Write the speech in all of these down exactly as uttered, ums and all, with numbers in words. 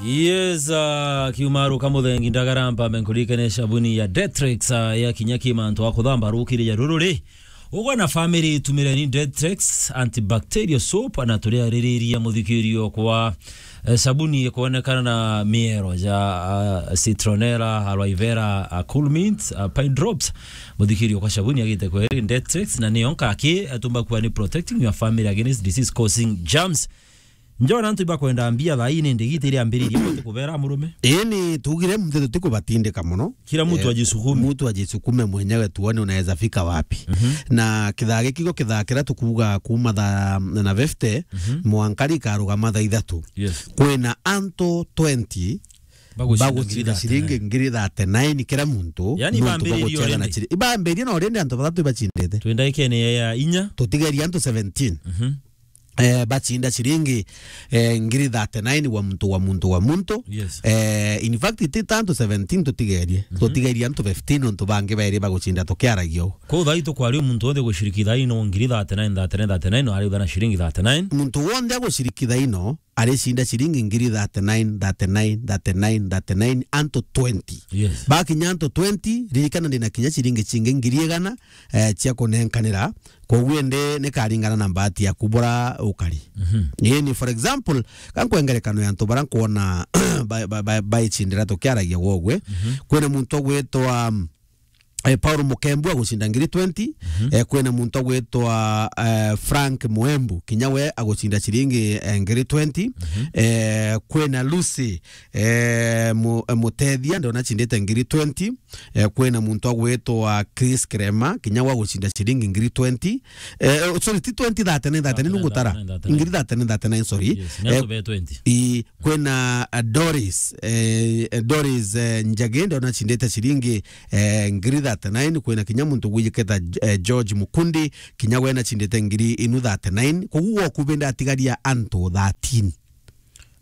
Yes, uh, kiumaru kamuthengi ndagara mpambe nkurikane sabuni ya Dettrex, uh, ya kinya ki mantu a kuthamba rukiri ya ruru ri. Ugwe na family itumireni Dettrex antibacterial soap na turiaririria muthikirio kwa, eh, sabuni ikonekana na miero ja, uh, citronella, aloe vera, uh, cool mint, uh, pine drops. Muthikirio kwa sabuni agite kweri Dettrex na niyo nkaki, eh, tumba kuwa ni protecting your family against disease causing germs. Njona antu ibakwenda mbia thaa ii ni ndigiti iria ambiririe bote kubera murume. Ii ni tugire muthe tutikubatindika muno. Kila mtu, eh, ajisukume. Mtu ajisukume mwenyewe tuone unaweza fika wapi. Mhm. Na kithaa giki gio kithaa kiria tukuuga kuuma thaa na fifty, mhm, mwanka rikarugama thaa ithatu. Yes. Kwina antu twenty bagucinda bagucinda ngiri ciringi thirty-nine. Ngiri thirty-nine kila muntu. Yani nuntu ibambiririe baguciaga na already. Chiri-, ibambiririe na already antu bathatu ibacindite. Twi ndagikene ya inya. Tutigeria antu seventeen. Mhm. Eh, bacinda ciringi, eh, ngiri thirty-nine wa muntu, wa muntu, wa muntu. Yes. Eh, in fact, ti ta antu seventeen tutigerie. Mhm. Tutigerie antu fifteen nontu bangi bairi bagucinda tukiaragia uu. Kwou thaa ii tukwaria muntu wonthe guciriki thaa ino ngiri thirty-nine, thirty-nine, thirty-nine, no ariuga na ciringi thirty-nine. Muntu wonthe aguciriki thaa ino, aricinda ciringi ngiri thirty-nine, thirty-nine, thirty-nine, thirty-nine, antu twenty. Yes. Bakinya antu twenty, ririkana ndina kinya ciringi cingi ngiri igana, eh, cia kunenkanira. Koguo indi nikaringana na mbati yaku bura ukari. Mhm. Ii ni, for example, ka nkwe ngerekano ya antu bara nkwona ba-, ba-, ba-, baicindira tukiaragia gwogwe. Mhm. Kwina muntu ugwitwa, eh, Paul Mukembu agucinda ngiri twenty. Mhm. Eh, kwina muntu ugwitwa, eh, Frank Mwembu, kinya we agucinda ciringi, eh, ngiri twenty. Mhm. Eh, kwina Lucy, eh, Mu-, eh, Mutethia, ndona acindite ngiri twenty. Eh, kwina muntu agwitwa Chris Kirema, kinya wa gucinda ciringi ngiri twenty. Eh, eh, sorry, ti twenty, thirty-nine, thirty-nine, thirty-nine, nungutara. Thirty-nine, thirty-nine. Ngiri thirty-nine, thirty-nine, sorry. Yes, ni antu be twenty. I, kwina, eh, Doris, eh, eh, Doris, eh, Njagi, ndona acindite ciringi, eh, ngiri thirty-nine. Kwina kinya muntu gwijiketa, eh, George Mukundi, kinya we nacindite ngiri inu thirty-nine. Koguo gwoku bende atigaria antu thirteen.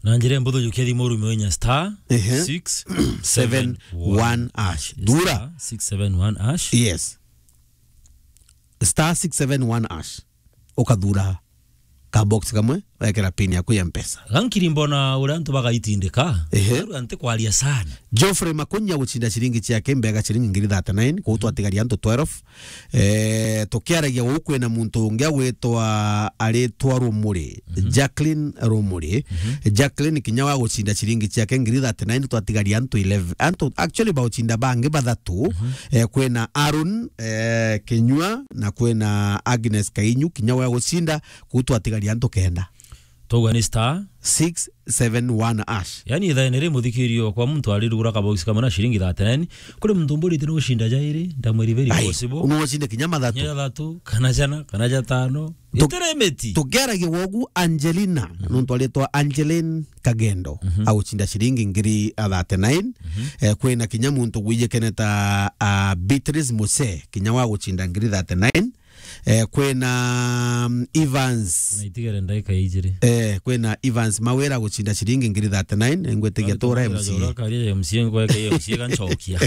Na njira mbuthu, jukia thimu urume inya star, ehe, six seven one hash. Thura. Star six seven one hash. Yes. Star six seven one hash. Ukathura ka box kamwe, wekera pin yaku ya Mpesa. Gankiri mbona uria antu bagaitindika. Ehe. Aru anti kwaria sana. Geoffrey Makunya gucinda ciringi ciake mbega ciringi ngiri thirty-nine, kuu twatigaria antu twelve. Eh, tukiaragia guu kwina muntu ungi agwitwa, aritwa Rumuri, mhm, Jacqueline Rumuri. Mhm. Jacqueline kinya wa gucinda ciringi ciake ngiri thirty-nine, twatigaria antu eleven. Antu actually baucinda bangi bathatu. Mhm. Eh, kwina Aaron, eh, Kinyua, na kwina Agnes Kainyu, kinya wa gucinda, kuu twatigaria antu kenda. Twauga ni star six seven one hash. Yani, ithaene ri, muthikirio kwa muntu arirugura kabox kamwe na ciringi thirty-nine, kuri muntu mburite ni gucinda jairi, ndamwiri very possible. Ai, no ucinde kinya mathatu. Kinya jathatu, kana jana, kana jatano. Tu-, itere miti. Tukiaragia wogu, Angelina, mhm, nontu aritwa Angeline Kagendo, mhm, agucinda ciringi ngiri thirty-nine. Mhm. Eh, kwina kinya muntu gwijikene ta, ah, Beatrice Muse, kinya wa gucinda ngiri thirty-nine. Eh, kwina, mm, Evans. Na itigere ndagika ijiri. Eh, kwina Evans Mawira gucinda ciringi ngiri thirty-nine, ngwitigia tura M C A. Karia M C A ngweke M C A ganchokia.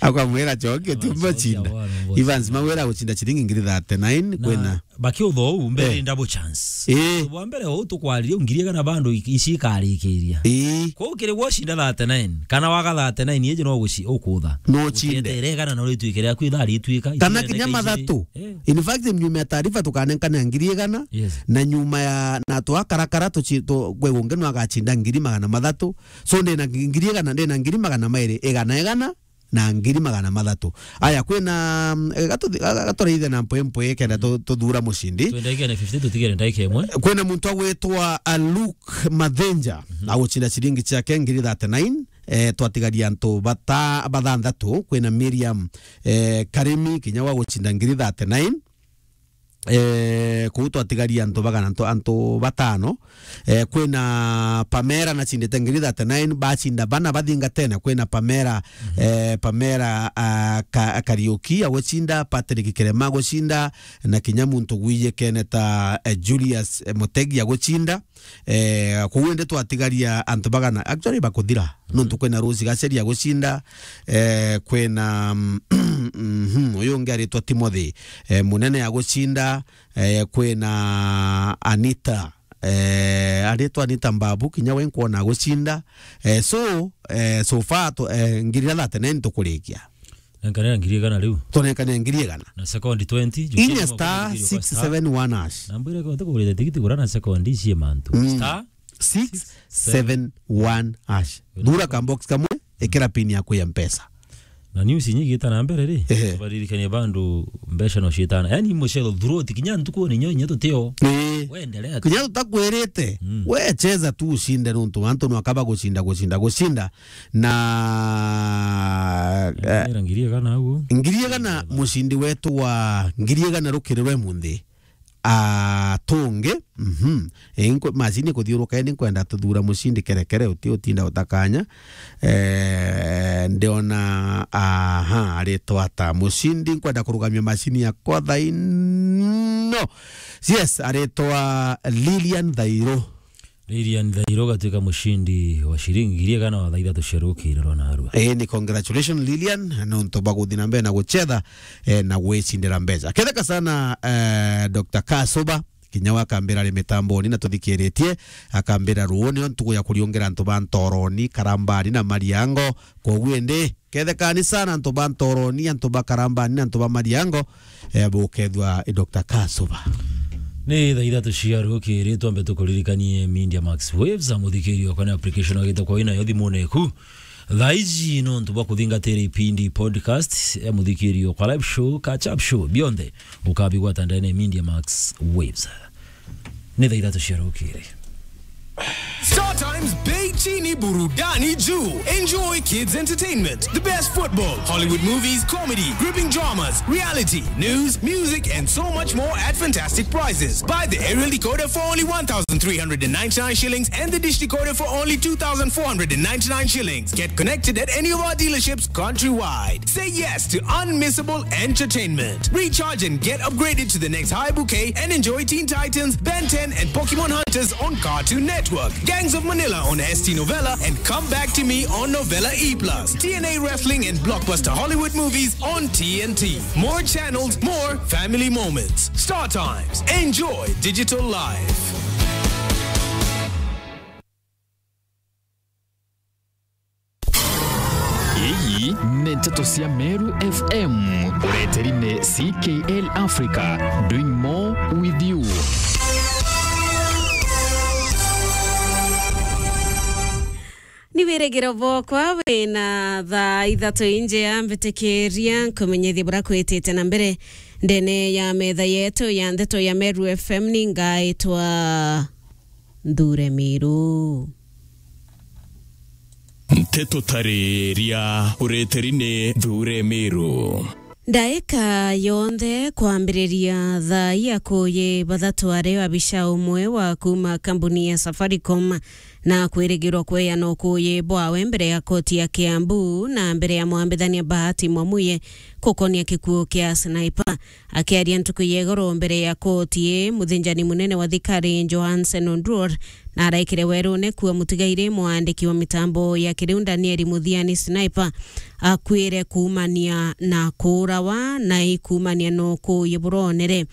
Akamwira chokia, tumba chinda. Evans Mawira gucinda ciringi ngiri thirty-nine, na kwina bakiutha uu mbere, eh, double chance. Eh. Bwa mbere uu tukwaririe ngiri igana bando i-, ici ikarikiria. Eh. Kwou kiri gwocinda thirty-nine, kana waga thirty-nine, iji no guci-, ukutha. No cinde. Uciendeere igana no rituike riaku ithaa rituika, kana ici kinya ndagika ici. Mathatu. Eh. In fact, nyuma ya taarifa tukanenkana ngiri igana, yes, na nyuma ya, na twakarakara tuci-, tu-, kwe ungi no agacinda ngiri magana mathatu. So, ndina ngi-, ngiri igana, ndina ngiri magana mairi, igana, igana, na ngiri magana mathatu. Aya, kwina, mm, eh, gatu-, ga-, ga-, gaturaithe na mpwe mpwe kenda tu-, tuthura mucindi. Twendagikene fifty, tutigere ndagika imwe. Kwina muntu agwitwa, uh, Luke Mathenja, mhm, agucinda ciringi ciake ngiri thirty-nine. Eh, twatigaria antu bata-, bathanthatu. Kwina Miriam, eh, Karimi, kinya wa gucinda ngiri thirty-nine. Eh, kuu twatigaria antu bagana, antu, antu batano. Eh, kwina Pamela nacindite ngiri thirty-nine, bacinda bana bathingatene. Kwina Pamela, mhm, eh, Pamela, ah, Ka-, Kariuki agucinda, Patrick Kirema agucinda, na kinya muntu gwijikene ta, eh, Julius, eh, Mutegi agucinda. Eh, kuu indi twatigaria antu bagana, actually bakuthira. Mhm. Nontu kwina Rose Gaceri agucinda, eh, kwina, mhm, uyu ungi aritwa Timothy, eh, Munene agucinda, eh, kwina Anita, Eh, aritwa ni ta Mbabu, kinya we nkwona agucinda. Eh, so, eh, so far tu, eh, ngiri thirty-nine tukurikia. Nenkanira ngiri igana riu. Tunenkanire ngiri igana. Na sekondi twenty, jukia Inya ni star mwakuthikiriria kwa six seven one hash. Namba iria kwete kugurite tigiti gura na sekondi ici mantu. Mm. Star six seven one hash. Thura ka box kamwe, ikira pin yaku ya Mpesa. Na news inya igita na mbere ri, ehe, tubaririkanie bandu mbeca no ciitana. Yaani mucero throughout kinya ntuku ni nyo inya tutio. Ii. Wendelea tu. Kinya tutakwirite, mm, we cheza tu ucinde nuntu antu no akaba gucinda, gucinda, gucinda. Na, eh, era ngiri igana uguo. Ngiri igana mucindi wetu wa ngiri igana rukirirwe munthi. Atungi, mhm. E, inkwe-, macini ikuthiuruka, indi nkwenda tuthura mucindi kerekere, uti utinda utakanya. Eh, ndiona, aha, aritwa ata mucindi, nkwenda kurugamia macini yakwa thaa ino. Yes, aritwa Lilian Thairo. Lilian Thairo ugatuika mucindi wa ciringi ngiri igana wa thaa ithatu cia rukiri rwa narua. Ii, ni congratulations Lilian, nontu bwa guthi na mbere na gucetha, eh, na gwicindira mbeca. Ketheka sana, eh, Doctor Kasuba, kinya we akambira ari mitamboni na tuthikiritie, akambira ruuni o ntuku ya kuriungira antu ba Ntoroni, Karambani na Mariango. Kwoguo indi, kethekani sana antu ba Ntoroni, antu ba Karambani na antu ba Mariango, eh, bukethua i Doctor Kasuba. Ni thaa ithatu cia rukiri, twambe tukuririkanie Media Max Waves, a muthikiri okwa ni application wagite kwa inayo thimune eku. Thaa iji nontu bwa kuthingatira ipindi podcast, e muthikiri okwa live show, catch up show, bionthe ukabigwata ndene Media Max Waves. Ni thaa ithatu cia rukiri. Star Times, bei chini, burudani juu. Enjoy kids entertainment, the best football, Hollywood movies, comedy, gripping dramas, reality, news, music, and so much more at fantastic prices. Buy the aerial decoder for only one thousand three hundred and ninety-nine shillings and the dish decoder for only two thousand four hundred and ninety-nine shillings. Get connected at any of our dealerships countrywide. Say yes to unmissable entertainment. Recharge and get upgraded to the next high bouquet and enjoy Teen Titans, Ben ten, and Pokemon Hunters on Cartoon Network, Gangs of Manila on S T Novella, and Come Back to Me on Novella E plus, T N A Wrestling and blockbuster Hollywood movies on T N T. More channels, more family moments. Star Times. Enjoy digital life. Ii ni nteto cia Meru F M, ureteri ni C K L Africa, doing more with you. Ni wirigiro bwakwa wina thaa ithatu injea, mbitikiria nkumenyithie buria kwitite na mbere ndene ya metha yetu ya ndeto ya Meru F M. Ni ngaitwa Nthure Miru. Nteto tariria ureteri ni Nthure Miru. Ndaika yonthe kwambiriria thaa ya kuyi bathatu ari abica umwe wa kuma kambuni ya Safaricom na kwirigirwa kweana ukuyi bwawe mbere ya koti ya Kiambu na mbere ya mwambithania Bahati Mwamuye gukonia gikuu kia Sniper. Akiaria ntuku ya igoro mbere ya koti ii, muthinjani munene wa thikari Johansen Oduor na araikire werune kuua mutigairi mwandiki wa mitambo ya kiriu Daniel Muthiani Sniper akuire kuumania na kuurawa na ikuumania na ukuuyi buronere.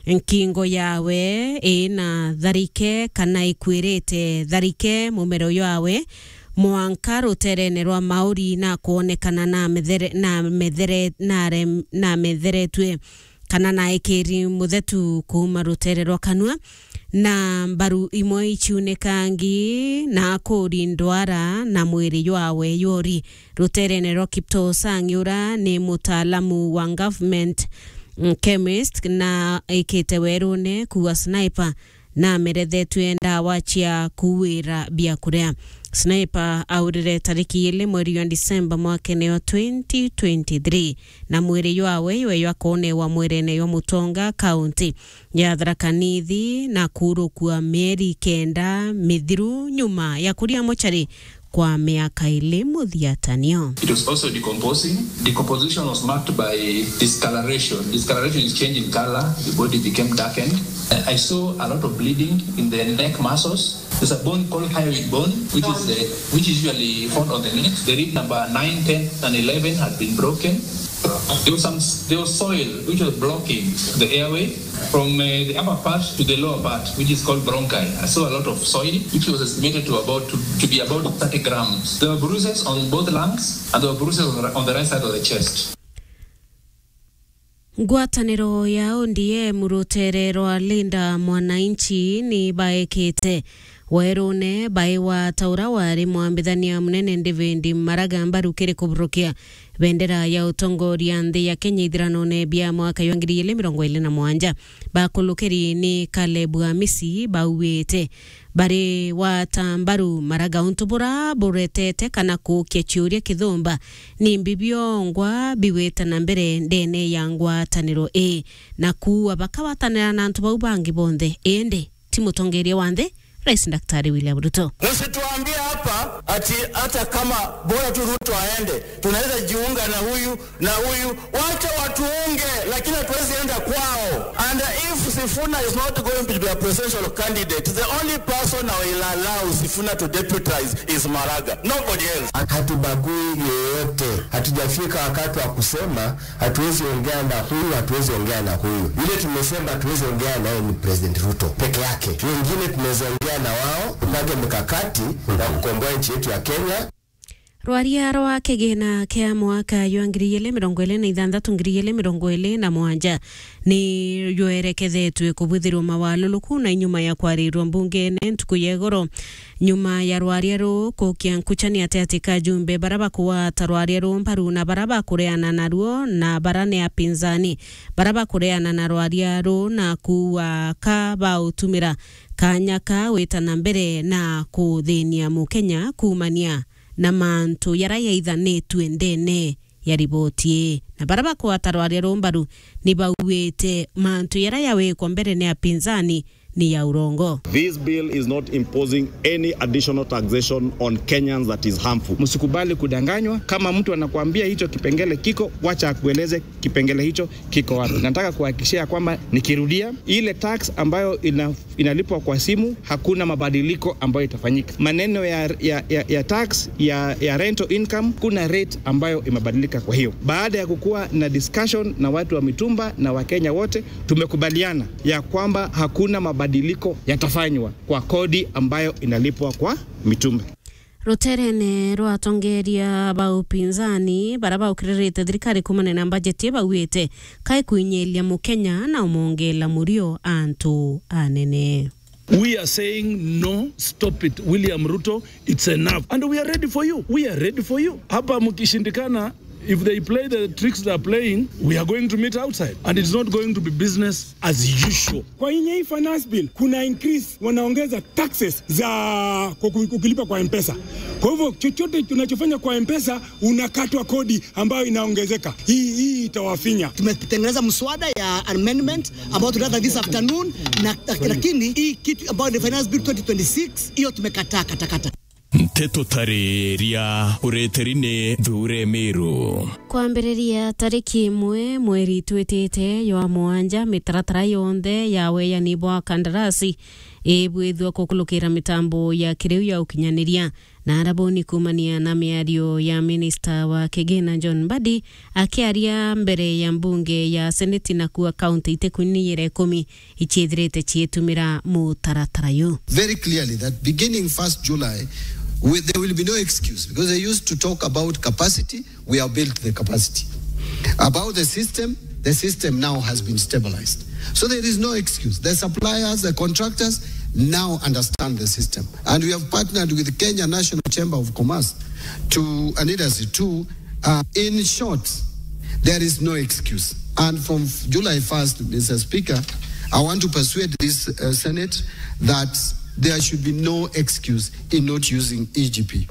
Nkingo yawe ina tharike kana ikwirite tharike, mumero yawe mwanka ruterene rwa mauri na kwonekana na methere-, na methere-, na rem-, na metheretue kana na ikiri muthetu kuuma rutere rwa kanua, na mbaru imwe ichiunikangi na kuri ndwara na mwiri jwawe jwori. Ruterene rwa Kiptoo Sang, ura ni mutaalamu wa government, mm, chemist, na ikite werune kuua Sniper na merethetue ndawa cia kuuira biakuria. Sniper aurire tariki ili mweri wa Disemba mwakene wa twenty twenty-three, na mwiri jwawe jwe jwakonewa mwirene jwa Mutonga, kaunti ya Tharaka Nithi, na kuurukua mieri kenda mithiru nyuma ya kuria mochari kwa miaka ili muthiatanio. It was also decomposing. Decomposition was marked by discoloration. Discoloration is change in color. The body became darkened. Uh, I saw a lot of bleeding in the neck muscles. There's a bone called hyoid bone, which is the, which is usually found on the neck. The rib number nine, ten, and eleven had been broken. There was some, there was soil which was blocking the airway from, uh, the upper part to the lower part, which is called bronchi. I saw a lot of soil, which was estimated to about, to, to be about thirty grams. There were bruises on both lungs, and there were bruises on the, on the right side of the chest. Ngwataniro ya O D M rutere rwa Linda Mwananchi ni baekete werune baiwa ta ura wari mwambithania munene David Maraga mbaru kiri kuburukia bendera ya utongoria nthi ya Kenya ithiranone bia mwaka jwa ngiri igiri mirongo iri na mugwanja. Bakulukiri ni Caleb Amisi bauite bari wata mbaru Maraga untu bura buretete kana kuukia ciuria kithumba ni mbi biongwa bigwita na mbere ndene ya ngwataniro ii, na kuua bakawatanira na antu bau bangi bonthe, indi ti mutongeria wa nthi, Rais Daktari William Ruto. Msituambie hapa ati hata kama bora tu Ruto aende, tunaweza jiunga na huyu na huyu. Wacha watuunge, lakini hatuwezi enda kwao. And if Sifuna is not going to be a presidential candidate, the only person I will allow Sifuna to deputize is Maraga. Nobody else. Hatubagui yeyote. Hatujafika wakati wa kusema hatuwezi ongea na huyu, hatuwezi ongea na huyu. Yule tumesema hatuwezi ongea naye ni President Ruto peke yake. Wengine tunaweza ongea na wao, tupange mikakati ya kukomboa nchi yetu ya Kenya. Rwaria rwa kigina kia mwaka jwa ngiri igiri mirongo iri na ithanthatu, ngiri igiri mirongo iri na mugwanja ni jwerekethetwe kubwithirwa mawaluluku na inyuma ya kwarirwa mbungene ntuku ya igoro. Nyuma ya rwaria ruu kukia nkuchani ati ati ka ajumbe bara bakugwata rwaria ruu mbaru na bara bakureana naruo na bara ni apinzani, bara bakureana na rwaria ruu na kuua ka bautumira kanya ka gwita na mbere na kuthinia Mukenya kuumania na mantu jaria jaithanitue ndene ya riboti ii. Na bara bakugwata rwaria ruu mbaru ni bauite mantu jaria jawikwa mbere ni apinzani ni ya urongo. This bill is not imposing any additional taxation on Kenyans that is harmful. Msikubali kudanganywa. Kama mtu anakuambia hicho kipengele kiko, wacha akueleze kipengele hicho kiko wapi. Nataka kuhakikishia kwamba, nikirudia, ile tax ambayo ina inalipwa kwa simu, hakuna mabadiliko ambayo itafanyika. Maneno ya, ya, ya, ya tax ya, ya rental income, kuna rate ambayo imebadilika. Kwa hiyo, baada ya kukuwa na discussion na watu wa mitumba na Wakenya wote, tumekubaliana ya kwamba hakuna mabadiliko yatafanywa kwa kodi ambayo inalipwa kwa mitumba. Ruterene rwa atongeria ba upinzani bara baukiririte thirikari kuumania na mbajeti, bauite kai kuinyiria Mukenya na umongela murio antu anene. We are saying no, stop it. William Ruto, it's enough. And we are ready for you. We are ready for you. Hapa mkishindikana, if they play the tricks they are playing, we are going to meet outside. And it's not going to be business as usual. Kwa inye hii finance bill, kuna increase, wanaongeza taxes za kuku-, ukilipa kwa M-Pesa. Kwa hivyo, chochote tunachofanya kwa M-Pesa, unakatwa kodi ambayo inaongezeka. Hii, hii itawafinya. Tumetengeneza mswada ya amendment ambao tutaleta this afternoon, na, lakini hii kitu ambayo ni finance bill twenty twenty-six, hiyo tumekataa katakata. Nteto tariria ureteri ni Thure Miru. Kwambiriria tariki imwe mweri twitite jwa mugwanja, mitaratara yonthe ya weyani bwa kandarasi ibwithua kukulukira mitambo ya kiriu ya ukinyaniria. Na arabuni kuumania na miario ya minista wa kigina John Mbadi akiaria mbere ya mbunge ya seneti, na kuuga kaunti itikunyiire ikumi iciithirite ciitumira mutaratara uyu. Very clearly that beginning first July, we, there will be no excuse, because they used to talk about capacity, we have built the capacity. About the system, the system now has been stabilized. So there is no excuse. The suppliers, the contractors now understand the system. And we have partnered with the Kenya National Chamber of Commerce to, and Industry to, uh, in short, there is no excuse. And from July first, Mister Speaker, I want to persuade this, uh, Senate that there should be no excuse in not using E G P.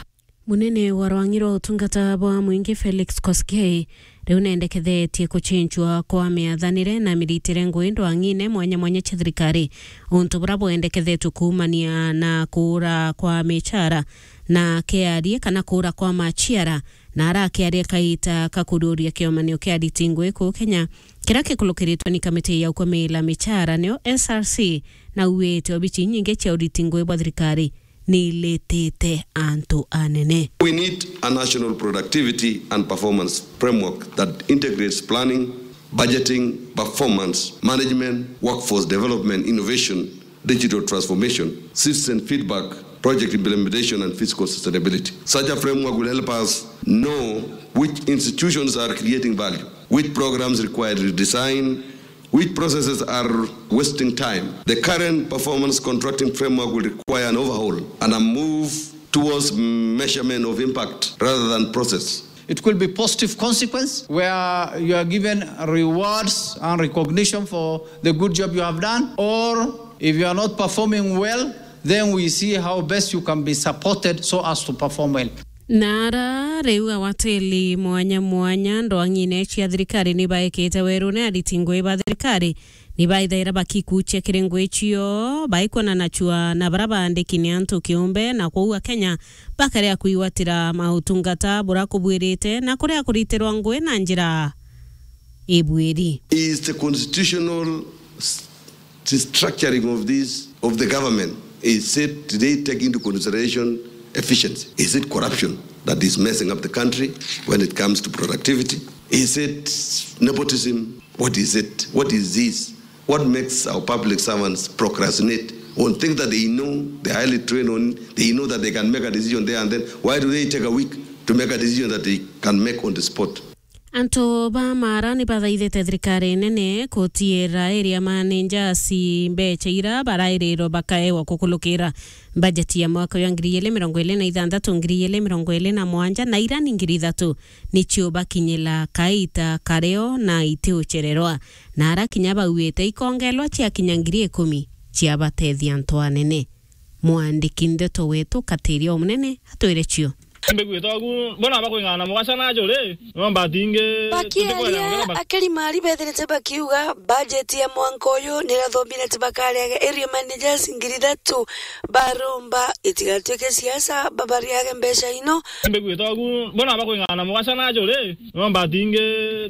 Munene wa rwang'i rwa utungata bwa mwingi Felix Koskei riu nendekethetie kuchenchwa kwa miathanire na miritire ngui ndwang'ine mwanya mwanya cia thirikari, untu bura bwendekethetwe kuumania na kuura kwa michara na kiarie kana kuura kwa machiara, na arakiaria kaita ka kururia kiomanio kia ariti ngui kuu Kenya, kiria kikulukiritwe ni kamiti ya ukumila michara, niyo S R C, na auite obici inyingi cia uriti ngui bwa thirikari ni iritite antu anene. We need a national productivity and performance framework that integrates planning, budgeting, performance management, workforce development, innovation, digital transformation, citizen feedback, project implementation, and fiscal sustainability. Such a framework will help us know which institutions are creating value, which programs require redesign, which processes are wasting time. The current performance contracting framework will require an overhaul and a move towards measurement of impact rather than process. It could be positive consequence where you are given rewards and recognition for the good job you have done, or if you are not performing well, then we see how best you can be supported so as to perform well. Na ara riu awatili mwanya mwanya ndwang'ine cia thirikari ni baikite werune ariti ngui ba thirikari ni baithaira bakikuchia kiri ngui cio, baikwona na chua na bara baandiki ni antu kiumbe, na kwou Akenya bakarea kwigwatira mautungata bura kubwirite na kurea kuritirwa ngui na njira ibwiri. Is the constitutional s-, the structuring of this, of the government, is it, did they take into consideration efficiency? Is it corruption that is messing up the country when it comes to productivity? Is it nepotism? What is it? What is this? What makes our public servants procrastinate on things that they know they're highly trained on, they know that they can make a decision there and then? Why do they take a week to make a decision that they can make on the spot? Antu ba Mara ni bathaithite thirikari nene kutiira area managers mbecha ira barairirwe bakaewa kukulukira bajeti ya mwaka wa ngiri igiri mirongo iri na ithanthatu, ngiri igiri mirongo iri na mwanja, na ira ni ngiri ithatu nicio bakinyila kaita kario na itiuchererwa, na ara kinya bauite ikongelwa ciakinya ngiri ikumi ciabatethia antu anene. Mwandiki ndeto wetu Katiria Omunene atwire cio. Mbigwite ogu, bona bakwing'ana mugaca na juri, no mbatingi. Bakiaria, akiri Mari bethirite bakiuga, bajeti ya mwanka uyu nirathombire ati bakariaga area managers ngiri ithatu, baromba itigatuike siasa, babariage mbeca ino. Mbigwite ogu, bona bakwing'ana mugaca na juri, no mbatingi,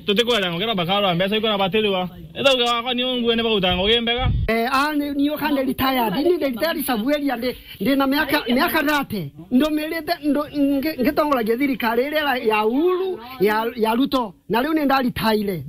tutikwera ngukira bakarwa mbeca ikona batiriwa. Ethauga wakwa ni ungue ni baguta ngugi mbega. Eh, a, ni, ni ukande retired, ni ndi retired sabueria, ndi, ndi na miaka, miaka thirty. Ndumirite, ndu-, ngi-, ngitongoragia thirikari iria ya Uhuru, ya, ya Ruto. Na riu ni ndaritaire. Ndi